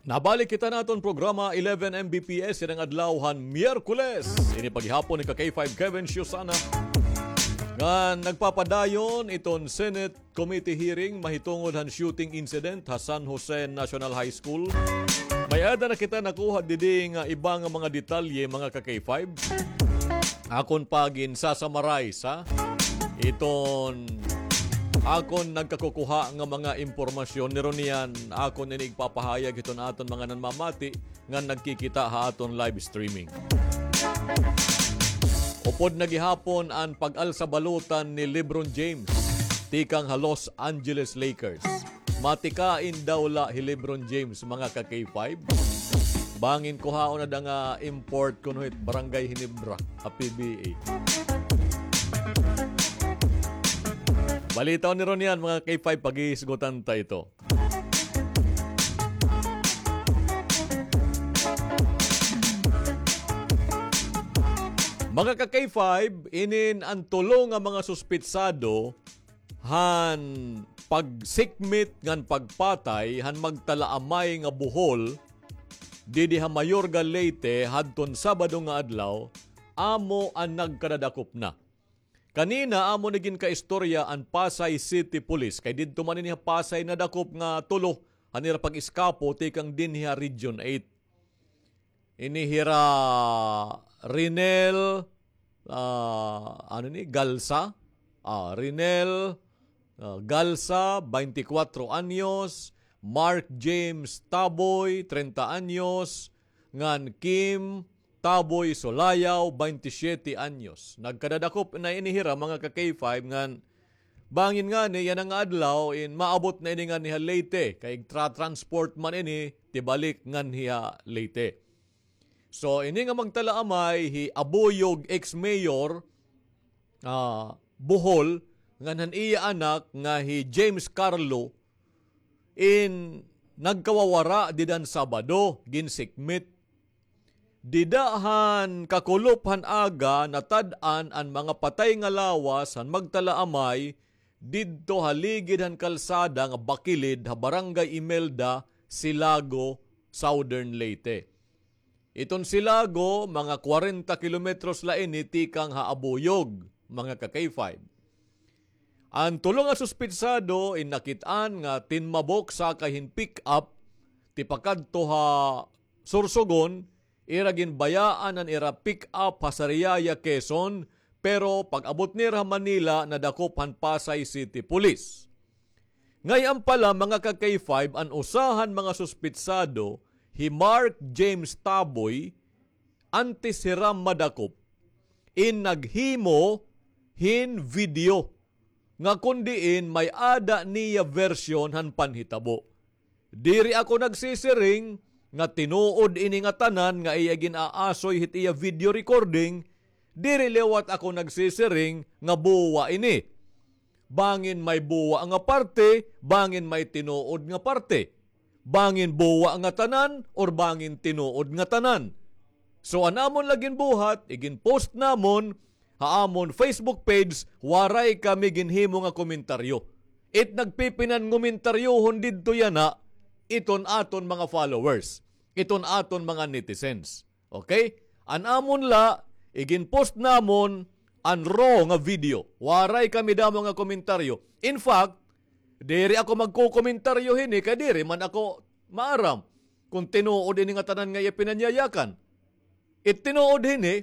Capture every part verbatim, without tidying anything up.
Nabalik kita naton programa eleven M B P S ining adlaw han Miyerkules. Ini pa gihapon ika K five Kevin Siusana nga nagpapadayon iton Senate committee hearing mahitungod han shooting incident ha San Jose National High School. May-ada na kita nakuha didi nga iba nga mga detalye, mga ka-K five. Akon pa ginsa-summarize, ha? Iton akon nagkakukuha nga mga impormasyon, niruniyan akon ini igpapahayag hiton aton mga nanmamati nga nagkikita ha aton live streaming. Upod na gihapon an pag-alsa balutan ni LeBron James tikang ha Los Angeles Lakers. Matikain daw la hi LeBron James, mga ka-K five. Bangin kuhaon na da nga import kuno hit Barangay Ginebra ha P B A. Balitaon niruniyan, mga ka-K five, paghisgutan ta ito. Mga ka-K five, inin an tulo nga mga suspitsado han pagsikmit ngan pagpatay han magtalaamay nga buhol didi ha Mayorga, Leyte, hadton Sabado nga adlaw, amo an nagkadadakop na. Kanina, amo ni ginkaistorya an Pasay City Police, kay didto man ini ha Pasay nadakop nga tulo han ira pag-eskapo tikang dinhi ha Region eight. Ini hira Rinel, ah, ano ni, Galsa? Ah, Rinel, ah, Galsa, twenty-four anyos, Mark James Taboy, treinta anyos, ngan Kim Taboy Solayaw, twenty-seven anyos. Nagkadadakop na ini hira, mga ka-K five, ngan bangin ngani yana nga adlaw in maabot na ini ngani ha Leyte, kay tra-, transport man ini tibalik nganhi ha Leyte. So, ini nga magtalaamay hi Abuyog ex-mayor, ah, Bohol, ngan han iya anak nga hi James Carlo, in nagkawawara dida han Sabado, ginsikmit. Dida han kakulop han aga, natad-an an mga patay nga lawas han magtalaamay didto ha ligid han kalsada nga bakilid ha Barangay Imelda, Silago, Southern Leyte. Iton Silago, mga kwarenta kilometros la ini tikang ha Abuyog, mga ka-K five. An tulo nga suspitsado in nakit-an nga tinmabok sakay hin pick-up tipakadto ha Sorsogon, ira ginbayaan an ira pick-up ha Sariaya, Quezon, pero pag-abot nira ha Manila, nadakop han Pasay City Police. Ngay-an pa la, mga ka-K five, an usa han mga suspitsado, hi Mark James Taboy, antes hira madakop, in naghimo hin video nga kon diin may-ada niya version han panhitabo. Diri ako nagsisiring nga tinuod ini ngatanan nga iya gin-aasoy hit iya video recording, diri liwat ako nagsisiring nga buwa ini. Bangin may buwa nga parte, bangin may tinuod nga parte. Bangin buwa ngatanan or bangin tinuod ngatanan. So, an amon la ginbuhat, igin-post namon ha amon Facebook page, waray kami ginhimo nga komentaryo. It nagpipinangomentaryohon didto yana, iton aton mga followers, iton aton mga netizens. Okay? An amon la, igin-post namon an raw nga video. Waray kami damo nga komentaryo. In fact, diri ako magkokomentaryo hini kay diri man ako maaram kon tinuod ini ngatanan nga iya pinanyayakan. It tinuod hini,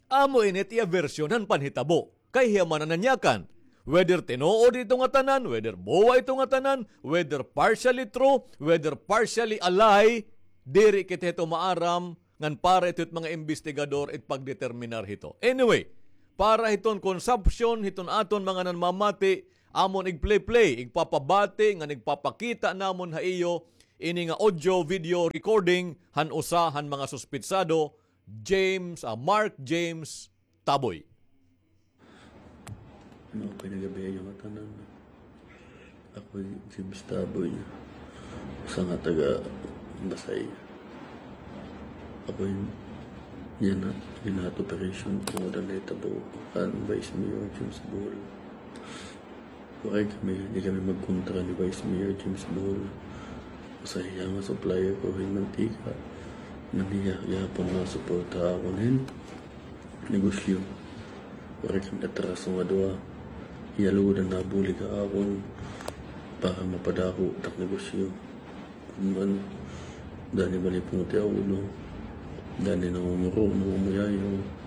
amo ini it iya version han panhitabo. Kay hiya man an nanyakan. Whether tinuod ito ngatanan, whether buwa ito ngatanan, whether partially true, whether partially a lie, diri kita hito maaram, ngan para ito hit mga imbestigador it pagdeterminar hito. Anyway, para hiton consumption hiton aton mga nanmamati, amon igplay-play, igpapabati, ngan igpapakita namon ha iyo ini nga audio video recording han usa han mga suspitsado, James, ah, Mark James Taboy. Maupay nga gab-i ha iyo ngatanan. Ako hi James Taboy, usa nga taga Basay. Ako hi yana, gin-add operation tungod han nahitabo kan Vice Mayor James Bohol. Waray kami, di kami magkontra ni Vice Mayor James Bohol. Usa hiya nga supplier ko hin mantika. Ngan hiya gihapon nga suporta ha akon hin negosyo. Waray kami atraso nga duha. Hiya lugod an nabulig ha akon para mapadako it ak negosyo. Kun man, dani bali pungti ha ulo. Dani nangunguro, nangumuyayaw.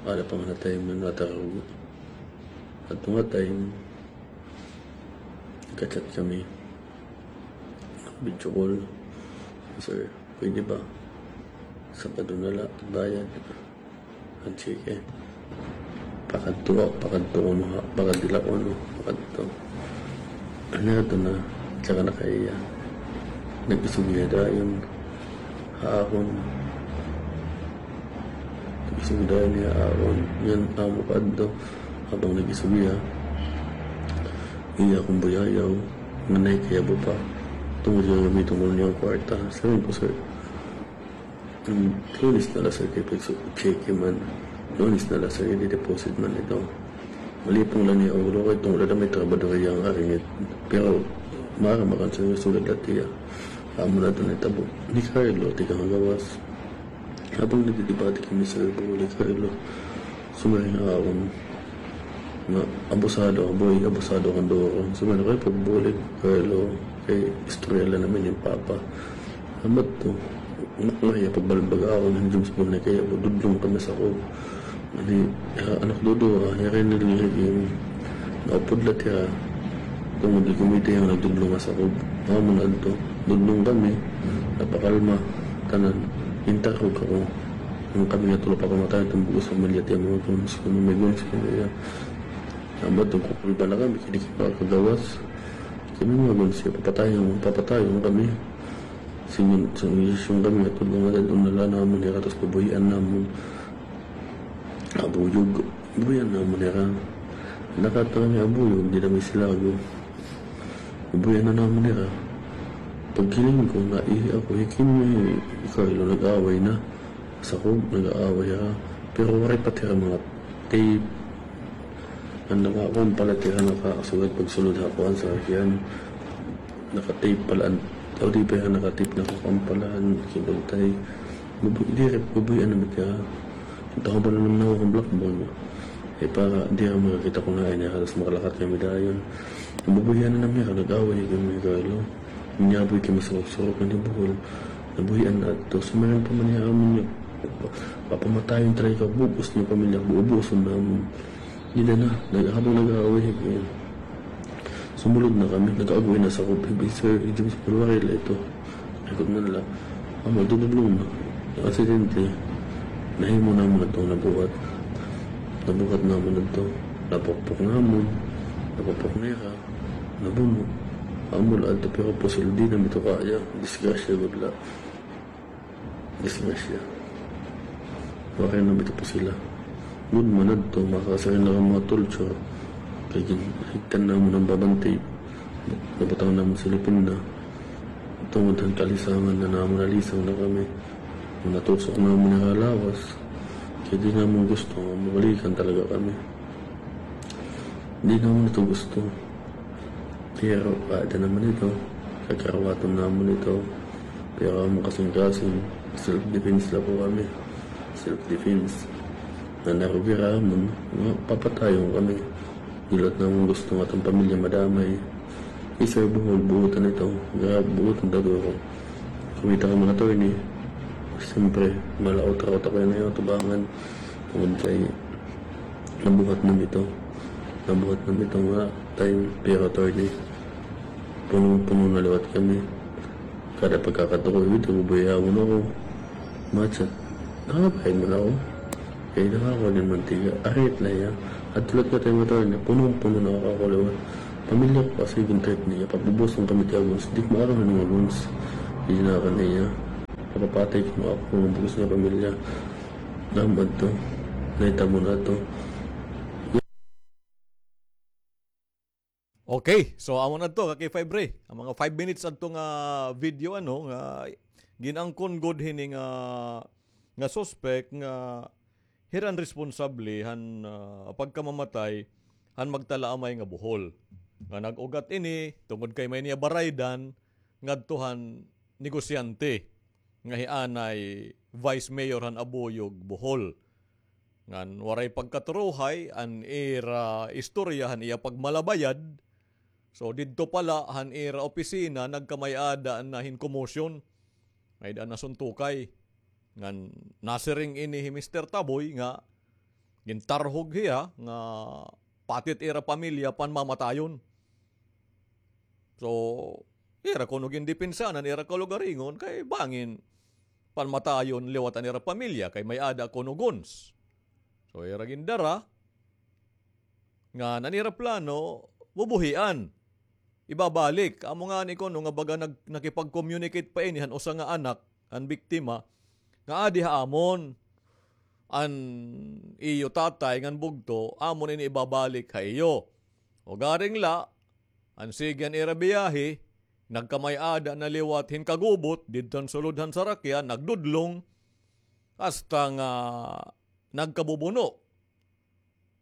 Ada pa nga time nga natarog. Adto nga time, nagka-chat kami. Video call. Sir, pwede ba? Sabado na la, bayad. An cheque. Pakadto, pakadto kuno ha, pakadto la kuno, pakadto. Ano ito na, tsaka na kaya. Nag-istorya dayon ha akon. Nag-istorya dayon ha akon. Ngan amo pa adto, habang nag-istorya, iya akon buyayaw, nga naay kayabo pa. Tungod nga gamiton ko niya an kwarta. Sabi ko, sir, hmm, Lunes na la, sir, kay pagsu-, cheque man. Lunes na la, sir, i-deposit man ito. Malipong la niya an ulo kay tungod la may trabahador iya nga aringit. Pero, maaram man kan sir, sugad la tiya. Amo na ito nahitabo. Ni Carlo, tikang ha gawas. Habang nagdidebate kami, sir, bulig, Carlo, sumiring ha akon nga abusado, boy, abusado ka duro. Sumiring, kay pagbulig, Carlo, kay istorya la naman yung papa. Amat to, makmahiya pagbalbag ako, hindi mo sa kay dudlong kami sa ko. Ani, ha, anak duduha, ha, yari nila lagi. Naupod la tiya. Tungod di kumita iya nga nagdudlong nga sakob. Amo na adto. Dudlong kami. Napakalma. Tanan. Intarog ako. An kami nga tulo pakamatay, iton bug-os pamilya tiya, mga guns. Kuno may guns, kuno iya. Amo adto, kukulba na kami, kini kagawas. Kami mga guns, papatayon, papatayon kami. Singon, singon kami nga tulo nga dad-on na la namon, kay katos pabuhian namon. Abuyog, buhian namon hira. Nakatanga ni abuyog, di na may silago. Buhian na namon hira. Pagkiling ko, naihi ako, hikin ni Carlo, nag-away na. Sa ko, nag-aaway hira. Pero waray pa tira mga tape. An nakakuan pala tira, nakasugad pagsulod ha kuan sa sakyan. Naka-tape pala an, o di pa hira naka-tape, nakakuan pala an kinuntay. Bubuy-, diri, bubuy-an na ba tiya? Taho ba na naman ako ang black ball? Eh, para di ako makakita kung hain niya, halos makalakat kami dayon. Bubuy-an na naman niya, nag-away kami ni Carlo. Niya, boy, kay masurok-surok na ni Bohol. Nabuhian na ato. Sumayon pa man niya amon niya. Papamatayon talaga ka, bug-os niya pamilya, bubuoson namon. Di na na, nag-, habang nag-aaway, eh, sumulod na kami, nag-aaway na sa kubo, "Hey, sir, James, pulwari la ito." Ikot na nila. Amo, dudulong na. Aksidente, nahimo namon adto, nabuhat. Nabuhat namon adto. Napukpok namon. Napukpok nira. Nabuno. Amo la adto, pero pusil, di na mi ito kaya. Disgrasya gud la. Disgrasya. Waray na mi tapos sila. Gud man adto, makakasakit na an mga torture. Kay gin-, higtan namon an babantay. Nabutang namon silipin na. Tungod han kalisangan na namon, nalisang na kami. Natusok namon an lawas. Kay di namon gusto nga mabalikan talaga kami. Di namon ito gusto. Pero, ada naman ito. Kakaruwaton namon ito. Pero an kasingkasing, self-defense la po kami. Self-defense. Nga narugirahan mo, nga papatayon kami. Di la namon gusto nga aton pamilya madamay. Isa buhol, buotan ito. Nga buotan daguro. Kumita kami, attorney. Siyempre, malaot-raot ako yana, tubangan. Tungod kay nabuhat na mi ito. Nabuhat na mi ito nga time, pero, attorney, punong-puno na liwat kami. Kada pagkakadto ko, ito, bubuyawon ako. Machat, nakabayad man ako. Kay nakakuha din mantika. Arit la iya. Adto la nga time, attorney, punong-puno na ako liwat. Pamilya ko kasi, gun trip niya, pabubuson kami tiya, guns. Di ko maaram nga mga guns. Di na ka niya. Papapatay ko nga ako, mga bugos nga pamilya. Amo adto. Nahitabo na to. Okay, so amo na to, ka K five Ray. An mga five minutes adto nga video, ano, nga gin-angkon gud hini nga, nga suspect nga hira an responsable han, ah, pagkamamatay han magtalaamay nga buhol. Nga nag-ugat ini, tungod kay may niya baraydan, ngadto han negosyante nga hi anay Vice Mayor han Abuyog, Bohol. Ngan waray pagkaturuhay an ira istorya han iya pagmalabayad. So, didto pala han ira opisina, nagkamay-ada na hin commotion. May-ada nasuntukay. Ngan nasiring ini hi Mister Taboy nga gintarhog hiya nga pati it ira pamilya panmamatayon. So, ira kuno gindepensahan an ira kalugaringon kay bangin panmatayon liwat an ira pamilya kay may-ada kuno guns. So, ira gindara ngan an ira plano, bubuhian. Ibabalik. Amo ngani kuno nga baga nag-, nakipag-communicate pa ini han usa nga anak, han biktima, nga adi ha amon an iyo tatay ngan bugto, amon ini ibabalik ha iyo. Ugaring la, an sige an ira biyahe, nagkamay-ada na liwat hin kagubot, didto han sulod han sarakyan, nagdudlong, hasta nga nagkabubuno.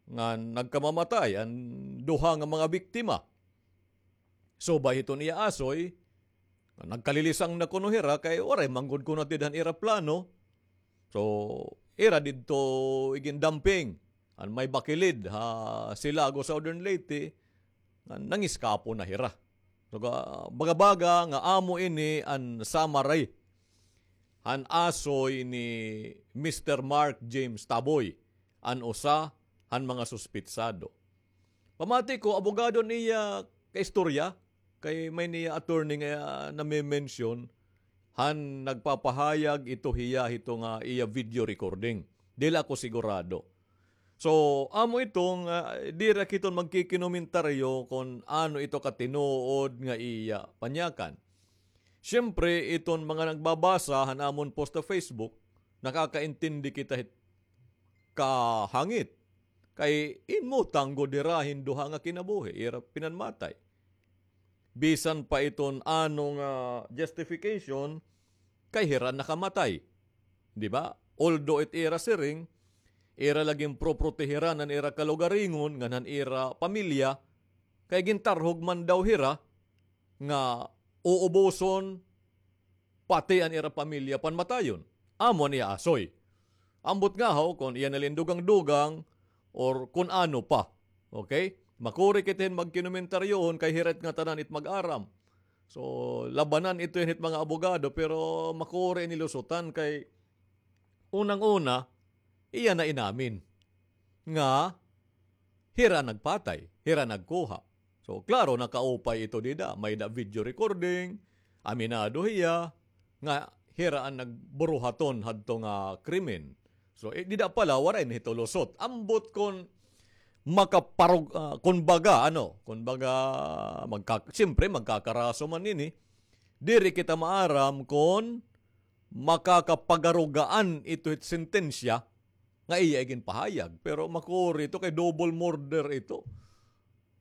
Ngan nagkamamatay an duha nga mga biktima. Subay hiton iya asoy, nagkalilisang na kuno hira kay waray man gud kuno tiad han ira plano. So, ira didto igindumping han may bakilid ha Silago, Southern Leyte, nga nangiskapo na hira. So, ga-, baga-baga nga amo ini an summary han asoy ni Mister Mark James Taboy, an usa han mga suspitsado. Pamati ko, abogado niya kaistorya, kay may niya attorney nga name-mention, han nagpapahayag ito hiya hito nga iya video recording. Dili ako sigurado. So, amo ito nga, diri ak hiton magkikinomentaryo kon ano ito katinuod nga iya panyakan. Siyempre, iton mga nagbabasa han amon post sa Facebook, nakakaintindi kita hit kahangit. Kay inmutang gud hira hin duha nga kinabuhi, ira pinanmatay. Bisan pa iton ano nga justification, kay hira nakamatay. Di ba? Although it ira siring, ira la ginproprotehiran an ira kalugaringon, ngan han ira pamilya, kay gintarhog man daw hira nga uuboson pati an ira pamilya panmatayon. Amo an iya asoy. Ambot ngahaw kon iya na la in dugang-dugang or kon ano pa. Okay? Makuri kita hin magkinomentaryohon kay hira it ngatanan it mag-aram. So, labanan ito hin it mga abogado, pero makuri ini lusutan kay unang-una, iya na inamin nga hira nagpatay, hira nagkuha. So, klaro, nakaupay ito dida. May-ada video recording, aminado hiya nga hira an nagburuhaton hadto nga krimen. So, eh, dida pala, waray na hito lusot. Ambot kon makaparug-, ah, kon baga, ano, kon baga, magka-, siyempre, magkakaraso man ini. Diri kita maaram kon makakapagarugaan ito hit sentensya nga iya iginpahayag. Pero makuri ito kay double murder ito.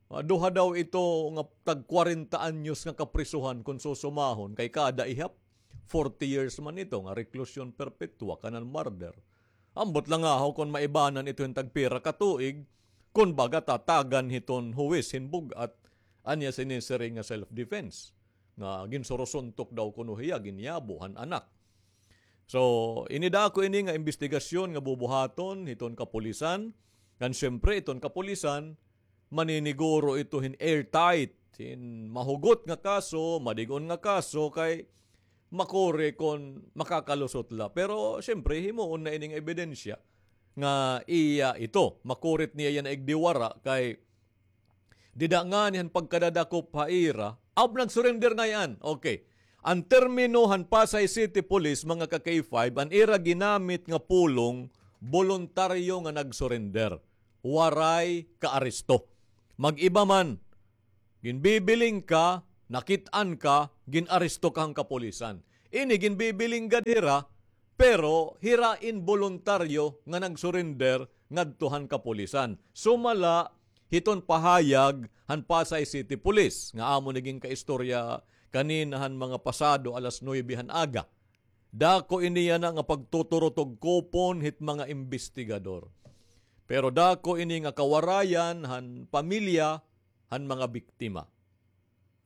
Ah, duha daw ito nga tag kwarenta anyos nga kaprisuhan kon susumahon kay kada ihap, forty years man ito nga reclusion perpetua kanan murder. Ambot la ngahaw kon maibanan ito hin tagpira ka tuig, kon baga tatagan hiton huwis hin bug-at, an iya sinisiring nga self-defense. Nga ginsurusuntok daw kuno hiya, ginyabo han anak. So, ini dako ini nga imbestigasyon nga bubuhaton hiton kapulisan. Ngan siyempre, iton kapulisan, maniniguro ito hin airtight, hin mahugot nga kaso, madig-on nga kaso, kay makuri kon makakalusot la. Pero, siyempre, himuon na ini nga ebidensya nga iya ito. Makuri it niya iya naigdiwara kay dida ngani han pagkadadakop ha ira, aw, nag-surrender ngay-an. Okay. An termino han Pasay City Police, mga ka-K five, an ira ginamit nga pulong, boluntaryo nga nag-surrender. Waray kaaresto. Mag-iba man, ginbibiling ka, nakit-an ka, gin-aresto ka han kapulisan. Ini ginbibiling gad hira, pero hira inboluntaryo nga nag-surrender ngadto han kapulisan. Sumala hiton pahayag han Pasay City Police, nga amo ni ginkaistorya kanina han mga pasado alas nuwebe han aga. Dako ini yana nga pagtuturutugkupon hit mga imbestigador. Pero dako ini nga kawarayan han pamilya han mga biktima.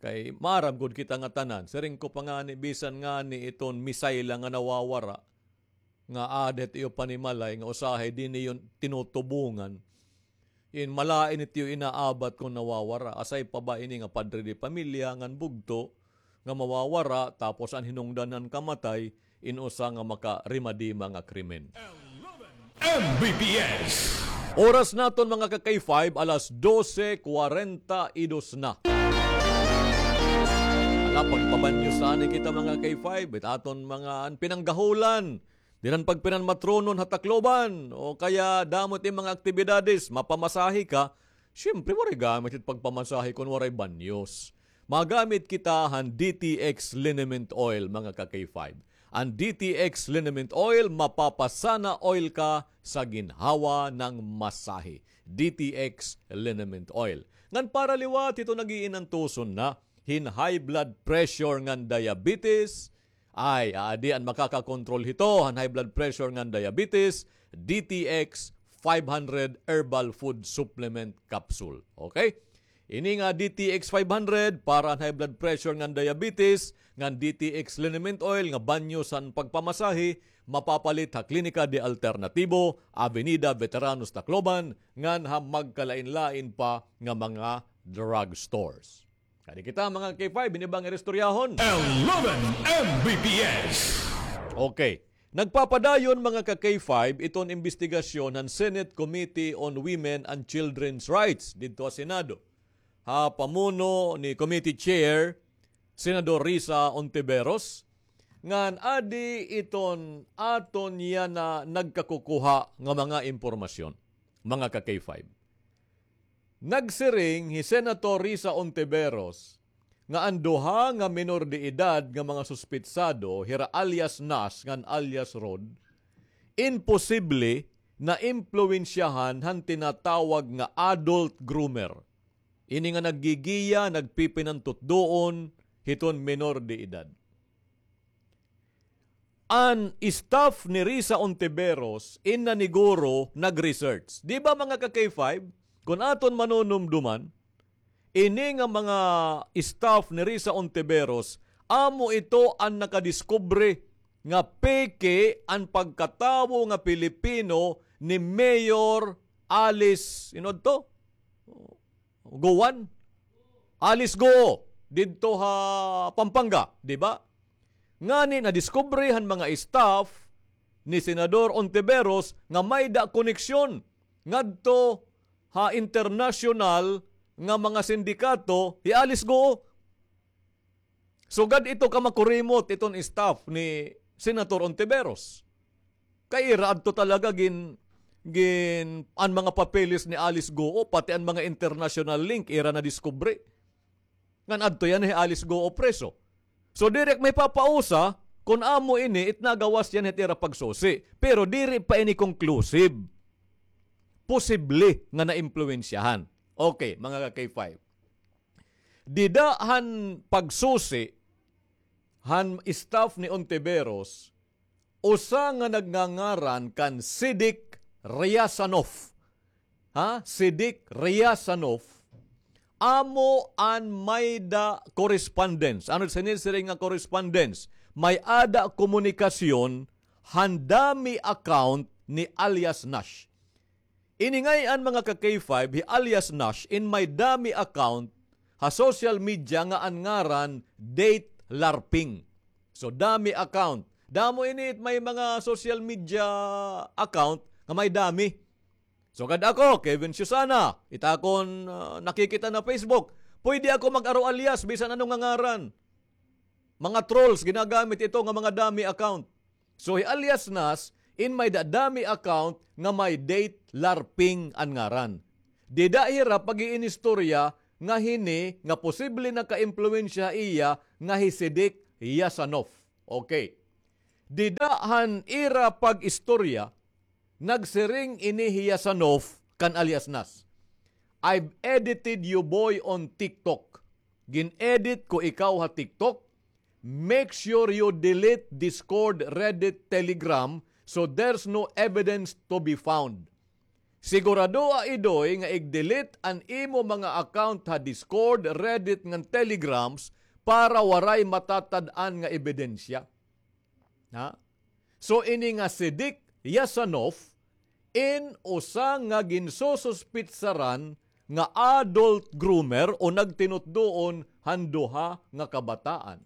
Kay maaram gud kita nga tanan, siring ko pa ngani, bisan ngani iton missile nga nawawara, nga aada hit iyo panimalay nga usahay diri niyo tinutubungan. In malain it iyo inaabat kon nawawara. Asay pa ba ini nga padre de pamilya ngan bugto nga mawawara, tapos an hinungdan han kamatay in usa nga makarimadima nga krimen. M B P S. Oras naton, mga ka-K five, alas dose kwarenta y dos na. Ala, pagpabanyo sa ani kita, mga ka-K five, it aton mga an pinanggahulan. Diri na pagpinanmatronon ha Tacloban, o kaya damo it mga aktibidades, mapamasahe ka, siyempre, waray gamit it pagpamasahe kon waray banyos. Magamit kita han D T X liniment oil, mga ka-K five. An D T X liniment oil, mapapasana oil ka sa ginhawa ng masahe. D T X liniment oil. Ngan para liwat hito nag-iinantuson na hin high blood pressure ngan diabetes, ay, aadi an makakakontrol hito han high blood pressure ngan diabetes, D T X five hundred herbal food supplement capsule. Okay? Ini nga D T X five hundred para han high blood pressure ngan diabetes, ngan D T X liniment oil nga banyo san pagpamasahe, mapapalit ha Klinika de Alternatibo, Avenida Veteranos Tacloban, ngan ha magkalain-lain pa nga mga drugstores. Kadi kita, mga ka-K five, ini ba an istoryahon? Eleven M B P S. Okay. Nagpapadayon, mga ka-K five, iton imbestigasyon han Senate Committee on Women and Children's Rights didto ha Senado, ha pamuno ni Committee Chair Senador Risa Ontiveros, ngan adi iton aton yana nagkakukuha nga mga impormasyon, mga ka-K five. Nagsiring hi Senator Risa Ontiveros nga an duha nga menor de edad nga mga suspitsado, hira alias Nas ngan alias Rod, imposible na impluwensyahan han tinatawag nga adult groomer. Ini nga naggigiya, nagpipinantutdoon hiton menor de edad. An staff ni Risa Ontiveros in naniguro nag-research. Di ba, mga ka-K five? Kon aton manunumduman, ini nga mga staff ni Risa Ontiveros, amo ito an nakadiskubre nga peke an pagkatawo nga Pilipino ni Mayor Alice, you know to? Guo, Alice Guo, didto ha Pampanga, di ba? Ngani nadiskubre han mga staff ni Senador Ontiveros nga may-da koneksyon ngadto ha internasyonal nga mga sindikato hi Alice Guo. Sugad ito ka makurimot iton staff ni Senator Ontiveros. Kay ira adto talaga gin-, gin-, an mga papeles ni Alice Guo, pati an mga international link, ira nadiskubre. Ngan adto yana hi Alice Guo preso. So, diri ak mahipapausa kon amo ini it nagawas yana hit ira pagsusi. Pero diri pa ini conclusive. Posible nga naimpluwensyahan. Okay, mga ka-K five. Dida han pagsusi han staff ni Ontiveros, usa nga nagngangaran kan Sidik Riasanov. Ha? Sidik Riasanov. Amo an may-da correspondence. Ano it sinisiring nga correspondence? May-ada komunikasyon han dummy account ni alias Nash. Ini ngay-an, mga ka-K five, hi alias Nash in may dummy account ha social media nga an ngaran Date Larping. So, dummy account. Damo ini it may mga social media account nga may dummy. Sugad ako, Kevin Susana, it akon, ah, nakikita ha Facebook. Pwede ako mag-aro alias, bisan ano nga ngaran. Mga trolls, ginagamit ito nga mga dummy account. So, hi alias Nas, in may-da dummy account nga may Date Larping an ngaran. Dida hira pag-iinistorya nga hini nga posible nakaimpluwensya ha iya nga hi Sidik Yasanov. Okay. Dida han ira pag-istorya, nagsiring ini hi Yasanov kan alias Nas, "I've edited you, boy, on TikTok." Gin-edit ko ikaw ha TikTok. "Make sure you delete Discord, Reddit, Telegram, so there's no evidence to be found." Siguradoa, Idoy, nga ig-delete an imo mga account ha Discord, Reddit, ngan Telegrams para waray matatad-an nga ebidensya. Ha? So, ini nga si Dick Yasanov, in usa nga ginsususpitsaran nga adult groomer o nagtinutdoon han duha nga kabataan.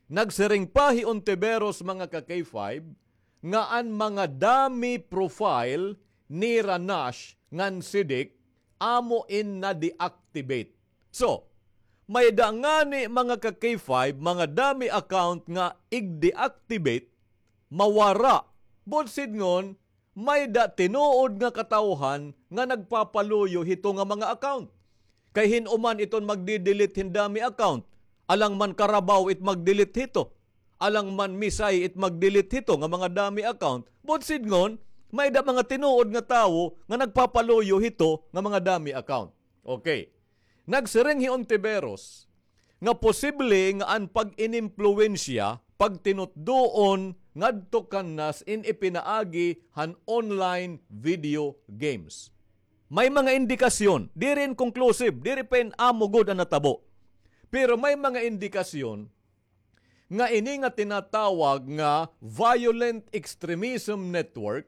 Nagsiring pa hi Ontiveros, mga ka-K five, nga an mga dummy profile nira Nash ngan si Dick amo in na-deactivate. So, may-ada ngani, mga ka-K five, mga dummy account nga ig-deactivate, mawara. Buot sidngon, may-ada tinuod nga katawhan nga nagpapaluyo hito nga mga account. Kay hin-o man iton magdi-delete hin dummy account? Alang man Carabao it mag-delete hito. Alang man Misay it mag-delete hito nga mga dummy account. Buot sidngon, may-ada mga tinuod nga tawo nga nagpapaluyo hito nga mga dummy account. Okay. Nagsiring hi Ontiveros nga posible nga an pag-inimpluwensya, pagtinutdoon ngadto kan Nash in ipinaagi han online video games. May mga indikasyon, diri in conclusive, diri pa in amo gud an natabo. Pero may mga indikasyon nga ini nga tinatawag nga violent extremism network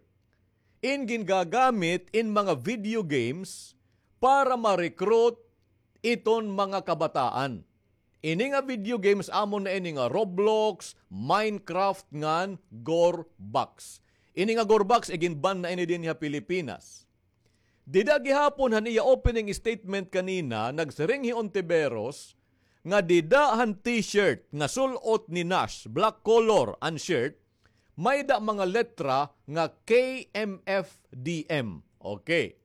in gingagamit in mga video games para ma-recruit iton mga kabataan. Ini nga video games, amo na ini nga Roblox, Minecraft, ngan Gorebox. Ini nga Gorebox, igin-ban na ini dinhi ha Pilipinas. Dida gihapon han iya opening statement kanina, nagsiring hi Ontiveros nga dida han T-shirt nga sul-ot ni Nash, black color an shirt, may-ada mga letra nga K M F D M. Okay.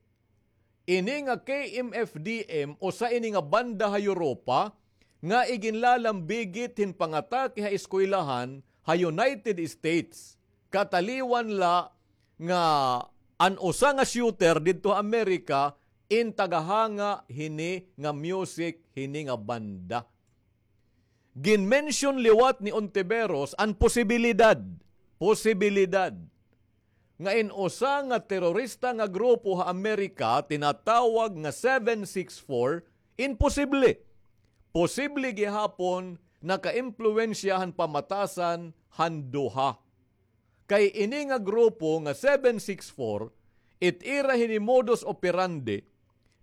Ini nga K M F D M, usa ini nga banda ha Europa nga iginlalambigit hin pangatake ha eskwelahan ha United States. Kataliwan la nga an usa nga shooter didto ha Amerika in tagahanga hini nga music, hini nga banda. Gin-mention liwat ni Ontiveros an posibilidad, posibilidad nga in usa nga terorista nga grupo ha Amerika tinatawag nga seven six four, in posible. Posible gihapon nakaimpluwensya han pamatasan han duha. Kay ini nga grupo nga seven six four, it ira hini modus operandi,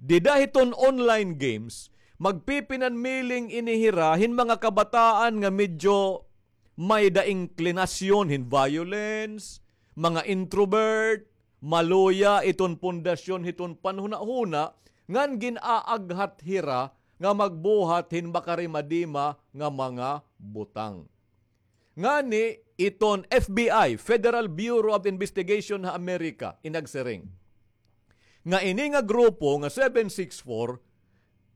dida hiton online games, magpipinanmiling ini hira hin mga kabataan nga medyo may-ada inklinasyon hin violence, mga introvert, maluya iton pundasyon hiton panhunahuna, ngan gin-aaghat hira nga magbuhat hin makarimadima nga mga butang. Ngani, iton F B I, Federal Bureau of Investigation ha Amerika, in nagsiring nga ini nga grupo nga seven six four,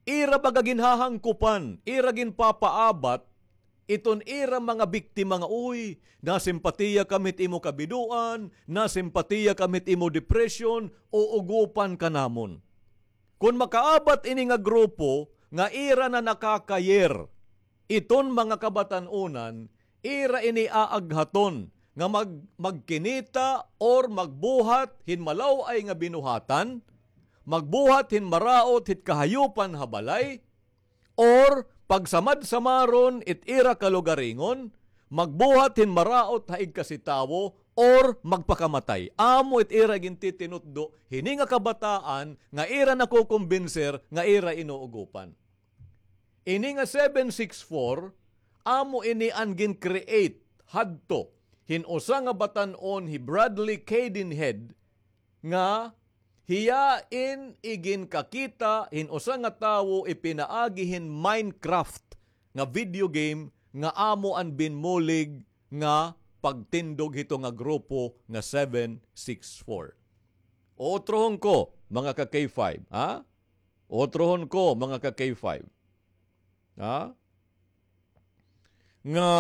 ira baga ginhahangkupan, ira ginpapaabat iton ira mga biktima nga, "Uy, nasimpatiya kami hit imo kabidoan, nasimpatiya kami hit imo depression, uugopan ka namon." Kon makaabat ini nga grupo nga ira na nakakayer iton mga kabatan-onan, ira ini aaghaton nga mag-, magkinita or magbuhat hin malaw-ay nga binuhatan, magbuhat hin maraot hit kahayupan ha balay, or pagsamad-samaron it ira kalugaringon, magbuhat hin maraot ha igkasi tawo, or magpakamatay. Amo it ira gintitinutdo hini nga kabataan nga ira nakokombinser nga ira inuugopan. Ini nga seven six four, amo ini an gin-create hadto hin usa nga batan-on, hi Bradley Cadenhead, nga hiya in iginkakita hin usa nga tawo ipinaagi hin Minecraft nga video game nga amo an binmulig nga pagtindog hito nga grupo nga seven six four. Utrohon ko, mga ka-K five, ha? Utrohon ko, mga ka-K five. Ha? Nga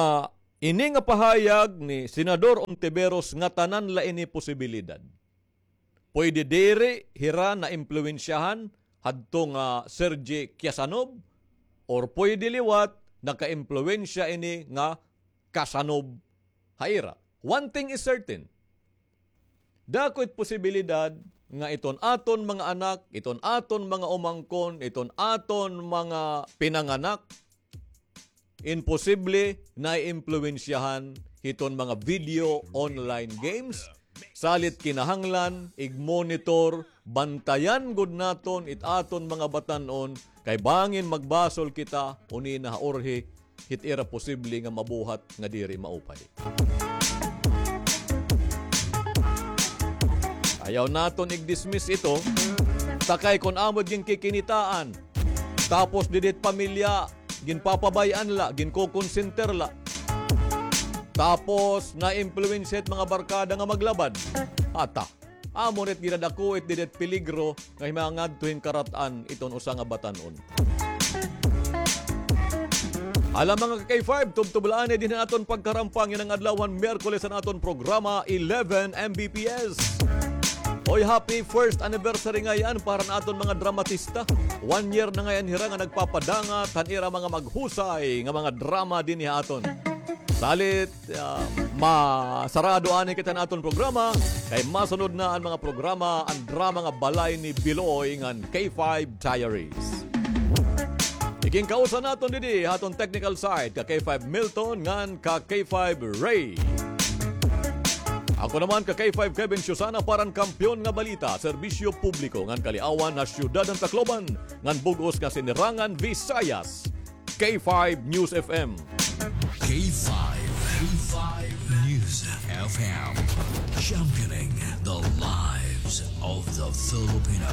ini nga pahayag ni Senador Ontiveros, ngatanan la ini posibilidad. Pwede diri hira naimpluwensyahan hadto nga Sergey Kiasanov, or pwede liwat nakaimpluwensya ini nga Kasanov ha ira. One thing is certain, dako it posibilidad nga iton aton mga anak, iton aton mga umangkon, iton aton mga pinanganak, imposible naiimpluwensyahan hiton mga video online games. Salit kinahanglan, ig-monitor, bantayan gud naton it aton mga batan-on, kay bangin magbasol kita, uni na ha urhi, hit ira posible nga mabuhat nga diri maupay. Ayaw naton ig-dismiss ito, ta kay kon amo it ginkikinitaan, tapos didi it pamilya, ginpapabay-an la, ginkokonsenter la. Tapos, naimpluwensya it mga barkada nga maglabad. Ata, amo na it ginadako it didi it peligro nga himangadto hin karat-an iton usa nga batan-on. Hala, mga ka-K five, tubtob la anay dinhi an aton pagkarampang yana nga adlawan, Miyerkules, an aton programa, eleven M B P S. Oy, happy first anniversary ngay-an para han aton mga dramatista. One year na ngay-an hira nga nagpapadangat han ira mga maghusay nga mga drama dinhi ha aton. Salit, ah, masarado anay kita han aton programa, kay masunod na an mga programa, an drama nga Balay ni Biloy ngan K five Diaries. Ikinkausa naton didi ha aton technical side, ka K five Milton ngan ka K five Ray. Ako naman, ka K five Kevin Susana, para han Kampiyon nga Balita, Serbisyo Publiko ngan Kaliawan ha Syudad han Tacloban ngan bug-os nga Sinirangan Visayas, K five News F M. K five, K five News F M, championing the lives of the Filipino.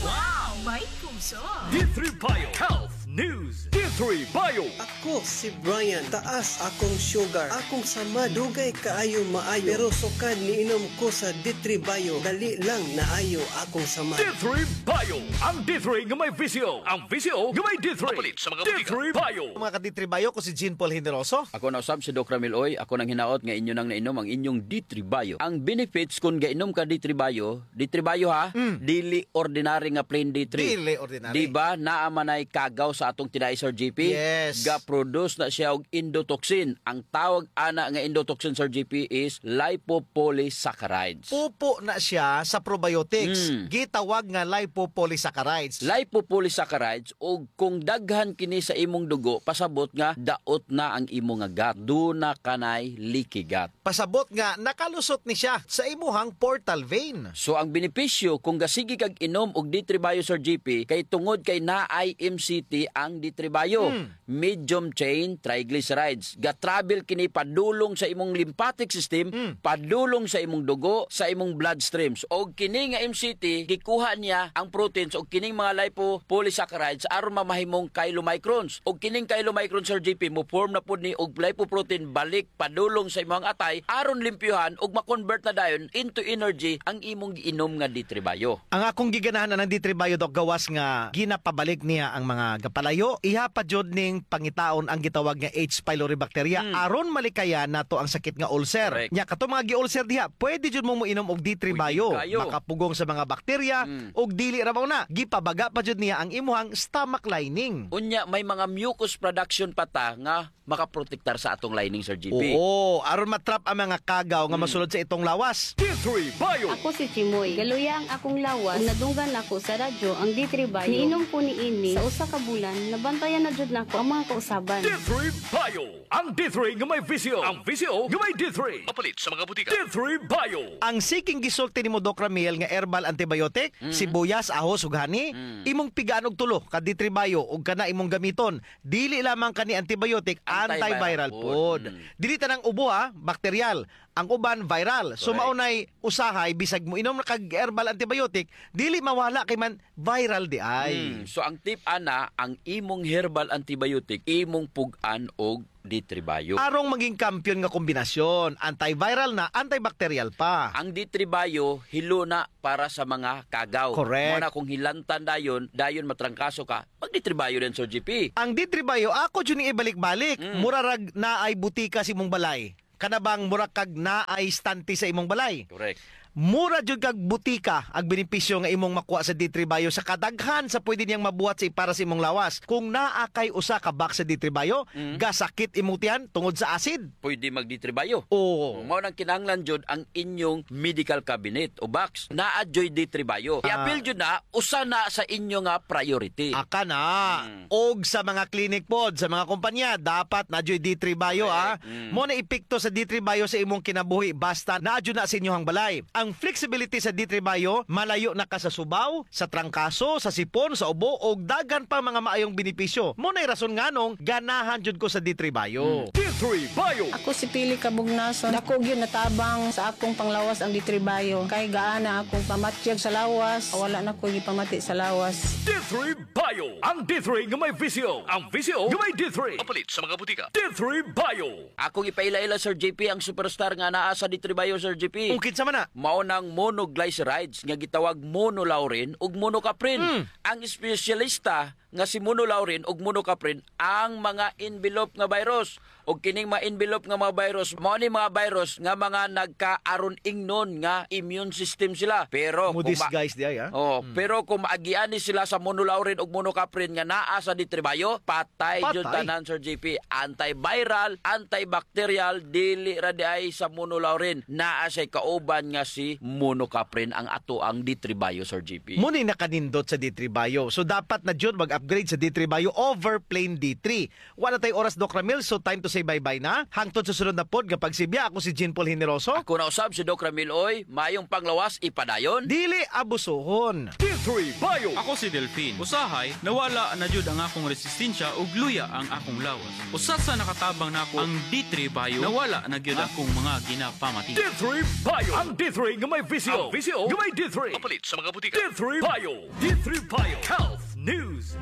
Wow! May puso! D three Bio Health News. D three Bio. Ako si Brian, taas akong sugar. Akong samad, dugay kaayo maayo. Pero sukad niinom ko sa D three Bio, dali lang naayo akong samad. D three Bio, ang D three nga may V C O, ang V C O nga may D three. Mapalit sa mga botika. D three Bio. Mga ka-D three Bio, ko si Jean Paul Generoso. Ako na usab si Doc Ramil Oy. Ako nang hinaot nga inyo nang nainom ang inyong D three Bio. Ang benefits kon gainom ka D three Bio, D three Bio ha, mm, dili ordinary nga plain D three. Dili ordinary. Di ba, naa man ay kagaw sa atong tinai, Sir G P? Yes. Ga-produce na siya og endotoxin. Ang tawag ana nga endotoxin, Sir G P, is lipopolysaccharides. Pupo na siya sa probiotics. Mm. Gitawag nga lipopolysaccharides. Lipopolysaccharides, ug kung daghan kini sa imong dugo, pasabot nga daot na ang imo nga gut. Duna kanay leaky gut. Pasabot nga nakalusot ni siya sa imuhang portal vein. So, ang benepisyo kung gasigi kag inom og D three Bio, Sir G P, kay tungod kay naay M C T ang D three Bio. Mm. Medium chain triglycerides. Ga-travel kini padulong sa imong lymphatic system, mm, padulong sa imong dugo, sa imong bloodstreams. Og kini nga M C T, gikuha niya ang proteins og kining mga lipopolysaccharides aron mamahimong chylomicrons. Og kining chylomicrons, Sir G P, mo-form na pud ni og lipoprotein balik padulong sa imong atay aron limpyuhan ug ma-convert na dayon into energy ang imong giinom nga D three Bio. Ang akong giganahan anang D three Bio, Doc, gawas nga ginapabalik niya ang mga gapalayo, iha pa jud ning pangitaon ang gitawag nga H. pylori bacteria, hmm, aron malikayan nato ang sakit nga ulcer. Correct. Nya, kato mga gi-ulcer diha, pwede jud mo moinom og D three Bio. Pwede kaayo. Makapugong sa mga bakterya, hmm, ug dili ra mao na, gipabaga pa jud niya ang imuhang stomach lining. Unya, may mga mucus production pa ta nga makaprotektar sa atong lining, Sir G P. Oo, aron ma-trap ang mga kagaw nga, hmm, masulod sa itong lawas. D three Bio. Ako si Chimoy. Galuya ang akong lawas ug nadunggan nako sa radyo ang D three Bio. Niinom ko niini sa usa ka bulan, nabantayan na jud nako ang mga kausaban. D three Bio. Ang D three nga may V C O. Ang V C O nga may D three. Mapalit sa mga butika. D three Bio. Ang siking gisulti nimo, Doc Ramil, nga herbal antibiotic, mm, sibuyas, ahos, ug honey, mm, imong pigaan og tulo ka D three Bio ug kana imong gamiton. Dili lamang kani antibiotic, antiviral, antiviral pod, pod. Mm. Dili tanang ubo, ha, bakteryal. Ang uban, viral. So, correct, mao nay usahay, bisag moinom na kag herbal antibiotic, dili mawala kay man viral diay. Mm. So, ang tip ana, ang imong herbal antibiotic, imong pug-an og D three Bio. Arong maging kampiyon nga kombinasyon, antiviral na, antibacterial pa. Ang D three Bio, hilo na para sa mga kagaw. Correct. Mao na kung hilantan dayon, dayon matrangkaso ka, mag-D three Bio din, Sir G P. Ang D three Bio, ako jud ni ibalik-balik. Mm. Mura rag naay butika sa imong balay. Kana bang mura kag naay stante sa imong balay? Correct. Mura jud kag butika ang benepisyo nga imong makuha sa D three Bio sa kadaghan sa pwede niyang mabuhat sa para sa imong lawas. Kung naa kay usa ka box sa D three Bio, Mm. gasakit imong tiyan tungod sa acid. Pwede mag D three Bio. Oo. Mao nang kinahanglan jud ang inyong medical cabinet o box. Naa juy D three Bio. Ah. I-apil jud na, usa na sa inyo nga priority. Aka na. Mm. Og sa mga clinic pod, sa mga kumpanya, dapat na juy D three Bio, Correct. ah. Mm. Mo na epekto sa D three Bio sa imong kinabuhi, basta naa jud na sa inyohang balay. Ang flexibility sa D three Bio, malayo na ka sa subaw, sa trangkaso, sa sipon, sa ubo, og daghan pa mga maayong benepisyo. Mo na'y rason nganong ganahan jud ko sa D three Bio. Mm. D three Bio. Ako si Pili Kabugnason. Dako gyud natabang sa akong panglawas ang D three Bio. Kay gaana akong pamatyag sa lawas, wala na ko gipamati sa lawas. D three Bio. Ang D three nga may V C O. Ang V C O nga may D three. Mapalit sa mga butika. D three Bio. Akong ipaila-ila, Sir J P, ang superstar nga naa sa D three Bio, Sir J P. O, kinsa man na? Mao nang monoglycerides nga gitawag monolaurin ug monocaprin. Mm. Ang espesyalista nga si monolaurin ug monocaprin ang mga envelope nga virus. Ug kining mga envelope nga mga virus, mao ni mga virus nga mga nagkaaron ingnon nga immune system sila. Pero kung ma- Mo-disguise di ay, ha? Oh, Mm. pero kung maagian ni sila sa monolaurin ug monocaprin nga naa sa D three Bio, patay jud Patay. tanan, Sir J P. Antiviral, antibacterial, dili ra di ay sa monolaurin. Naa siya'y kauban nga si monocaprin ang ato ang D three Bio, Sir J P. Mo ni nakanindot sa D three Bio. So, dapat na jud mag-upgrade sa D three Bio over plain D three. Wala tay oras, Doc Ramil, so time to say bye-bye na. Hangtod sa sunod na pod nga pagsibya, ako si Jean Paul Generoso. Ako na usab si Doc Ramil, oy. Mayong panglawas, ipadayon. Dili abusuhon. D three Bio. Ako si Delfin. Usahay, nawala na jud ang akong resistensya ug luya ang akong lawas. Usa sa nakatabang nako ang D three Bio. Nawala na gyud akong mga ginapamati. D three Bio. Ang D three nga may V C O. Ang V C O nga may D three. Mapalit sa mga butika. D three Bio. D three Bio Health News.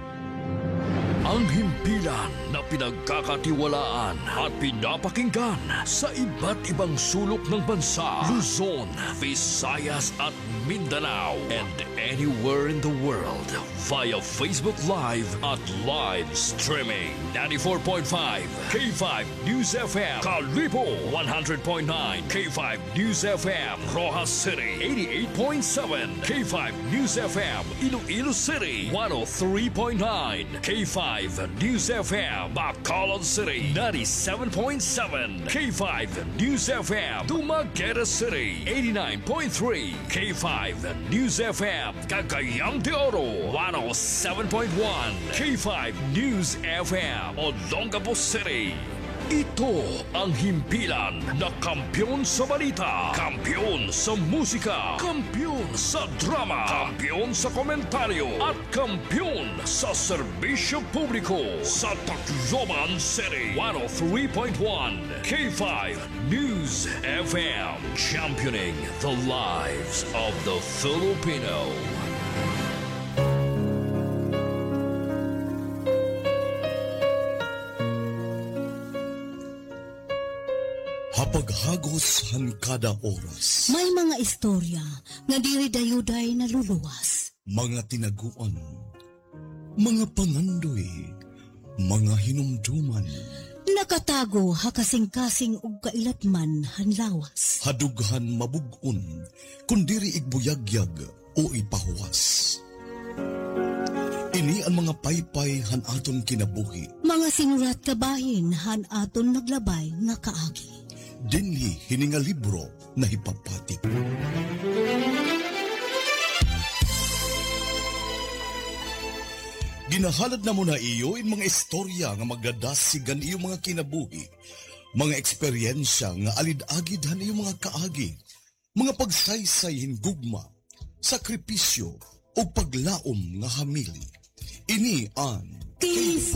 Ang himpilan na pinagkakatiwalaan at pinapakinggan sa iba't ibang sulok ng bansa, Luzon, Visayas at Mindanao, and anywhere in the world via Facebook Live at live streaming. Ninety-four point five K five News F M, Kalibo, one hundred point nine K five News F M, Roxas City, eighty-eight point seven K five News F M, Iloilo City, one oh three point nine K five News F M, Bacolod City, ninety-seven point seven K five News F M, Dumaguete City, eighty-nine point three K five News F M, Cagayan de Oro, one oh seven point one K five News F M, Olongapo City. Ito ang himpilan na kampiyon sa balita, kampiyon sa musika, kampiyon sa drama, kampiyon sa komentaryo, at kampiyon sa serbisyo publiko sa Tacloban City. One oh three point one K five News F M, championing the lives of the Filipino. Ha paghagos han kada oras. May mga istorya nga diri dayuday naluluwas. Mga tinaguan, mga pangandoy, mga hinumduman. Nakatago ha kasingkasing ug kailatman han lawas. Ha dughan mabug-on, kun diri igbuyagyag o ipahuwas. Ini an mga paypay han aton kinabuhi. Mga sinurat kabahin han aton naglabay nga kaagi. Dinhi hini nga libro nahipapatik. Ginahalad namon ha iyo in mga istorya nga magdadasig han iyo mga kinabuhi, mga eksperyensya nga alid-agid han iyo mga kaagi, mga pagsaysay hin gugma, sakripisyo, ug paglaom nga hamili. Ini an K five